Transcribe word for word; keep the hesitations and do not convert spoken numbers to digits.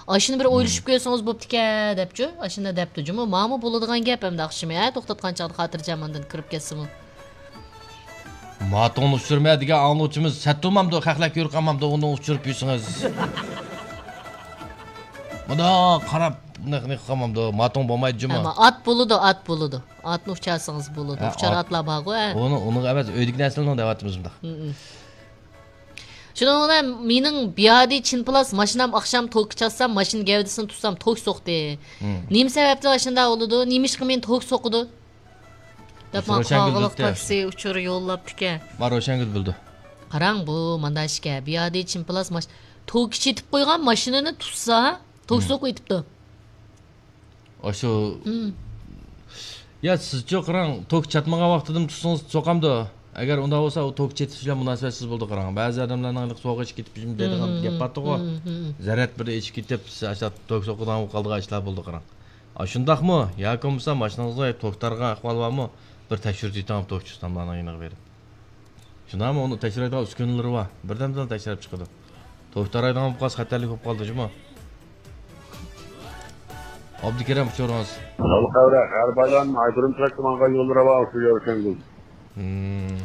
ئاشۇنى بىر ئويلىشىپ كۆرسىڭىز بوپتىكەن دەپچۇ. ئاشۇنداق دەپتۇ جۇمۇ. ماڭىمۇ بولىدىغان گەپ ئەمدى ئاخشىمى، ھە؟ توختاتقان چاغدا خاتىرجەم ئاندىن كىرىپ كەتسىمۇ. ماتوڭنى ئۇچۇرما دېگەن ئاڭلىغۇچىمىز سەتتۇمامدۇ، خەقلەر كۆرۈپ قالمامدۇ، ئۇنى ئۇچۇرۇپ يۈرسىڭىز. مۇنداق قاراپ نېخ نېخ قالمامدۇ، ماتوڭ بولمايدۇ جۇمۇ. ئەمما ئات بولىدۇ، ئات بولىدۇ. ئاتنى ئۇچارسىڭىز بولىدۇ. ھە، ئۇچار ئات. ئاتلار بارغۇ، ھە. ئۇنى، ئۇنىڭغا ئەمەس، ئۆيدىكى نەرسىلەرنى دەۋاتىمىز مۇنداق. ھم، ھم. شۇنىڭ بىلەن مېنىڭ بىيادى چىن پلاس ماشىنام ئاخشام توكقا چاتسام، ماشىنا گەۋدىسىنى تۇتسام توك سوقتى. ھم. نېمە سەۋەبتىن ئاشۇنداق بولىدۇ؟ نېمىشقا مېنى توك سوقىدۇ؟ دەپ ماڭا قاغىلىق تاكسى ئۇچۇرى يوللاپتىكەن. ما روشەنگۈل بىلىدۇ. قاراڭ، بۇ مانداق ئىشكەن. بىيادى چىن پلاس ماش-، توكى چېتىپ قويغان ماشىنىنى تۇتسا، توك سوقۇۋېتىپتۇ. ئاشۇ، يا سىزچۇ قاراڭ، توك چاتمىغان ۋاقتىدىمۇ تۇتسىڭىز سوقامدۇ؟ ئەگەر ئۇنداق بولسا، ئۇ توك چېتىش بىلەن مۇناسىۋەتسىز بولىدۇ قاراڭ. بەزى ئادەملەرنىڭ ھېلىقى سوغۇق ئىچىپ كېتىپ دەيدىغان گەپ بارتىغۇ. زەرەت بىر ئىچىپ كېتىپ، سىز ئاشۇ توك سوقىدىغان بولۇپ قالىدىغان ئىشلار بولىدۇ قاراڭ. ئاشۇنداقمۇ؟ ياكى بولمىسا ماشىنىڭىزغا توك تارىغان ئەھۋال بارمۇ؟ بىر تەكشۈرتۈۋېتىڭ توكچى ئۇستاملارنىڭ يېنىغا بېرىپ. شۇنداقمۇ؟ ئۇنى تەكشۈرەيدىغان ئۈسكۈنىلىرى بار. بىردەمدىلا تەكشۈرۈپ چىقىدۇ. توك تارايدىغان بولۇپ قالسا خەتەرلىك بولۇپ قالىدۇ جۇمۇ. ئابدۇكېرەم ئۇچۇرىڭىز. ئابدۇقەۋرە، غەرب ئايلان، ئايكۈرۈم تەرەپكە ماڭغان يول راۋا، شۇ يەر ئىكەنگۇ. ھىم.